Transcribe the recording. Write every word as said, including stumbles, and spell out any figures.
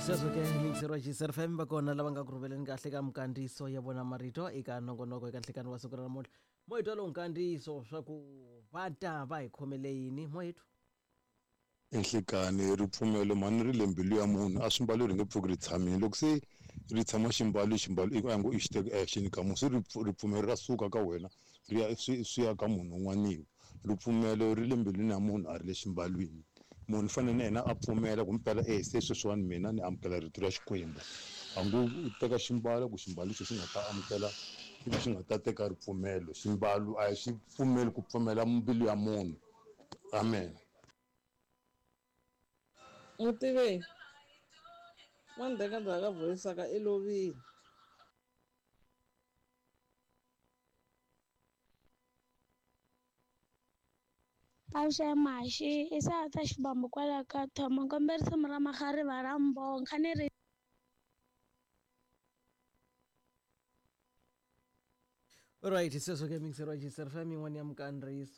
Sweswo ke mixer wa G S F M, va kona lava nga ku rhumeleni kahle ka minkandziyiso ya vona marito eka nongonoko eka nhlekani wa siku ra namuntlha. Mo hi twa lowu nkandziyiso swa ku va ta va hi khomele yini mo hi twa. Enhlekani ripfumelo mhani ri le mbilu ya munhu, a swimbalo ri nge pfuki ri tshamile. Loko se ri tshama ximbalo, ximbalo i a ngo i xi teka action ka munhu, se ripfumelo ra suka ka wena ri ya swi swi ya ka munhu un'waniwa. Ripfumelo ri le mbilwini ya munhu, a ri le ximbalwini. Munhu u fanele na yena a pfumela ku mpela e se sweswiwani mina ni amukela rito ra Xikwembu. A ngo u teka ximbalo ku ximbalo lexi xi nga ta amukela ivi xi nga ta teka ripfumelo. Ximbalo a xi pfumeli ku pfumela mbilu ya munhu. Amen. Mutiveki n'wa ndzhaku ka voyisaka i lovile. Avuxeni Maxi i ta xibambu kwala ka Thoma, kombe risimu ra Makhariva ra Mbonga ni ri. Alright, sweswo ke mixer wa G S F M, yin'wana ya minkandziyiso.